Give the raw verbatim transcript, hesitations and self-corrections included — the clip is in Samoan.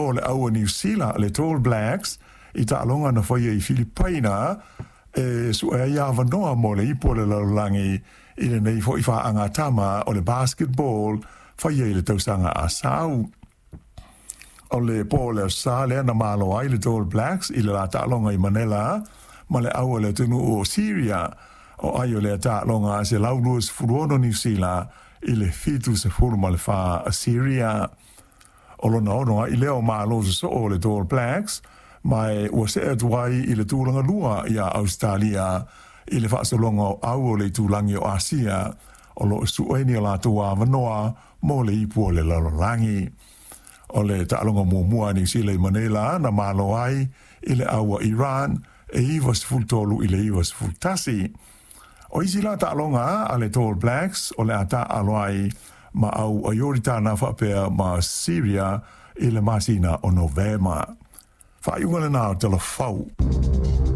malo le au o Niu Sila le All Blacks i taaloga na faia i Filipaina e su'e ai avanoa mo le ipu o le lalolagi i lenei fo'i fa'aagatama o le basketball faia i le tausaga a sau. O le po o le Aso Sa lea na malo ai le All Blacks i le la taaloga i Manela ma le au o le atunuu o Syria o ai o lea taaloga se lau luasefulu ono Niu Sila i le fitu sefulu ma le fā Syria. O lona ono ai lea o malo sosoo o le All Blacks ma e ua se'e atu ai i le tulaga lua iā Ausetalia i le faasologa o au o le itulagi o Asia o loo su'eina o latou avanoa mo le ipu o le lalolagi. O le taaloga muamua a Niu Sila i Manela na malo ai i le au a Iran e iva sefulu tolu i le iva sefulu tasi. O isi la taaloga a le All Blacks o le a taaalo ai ma au a Ioritana faapea ma Syria i le masina o Novema. Faaiuga lenā o Tala Fou.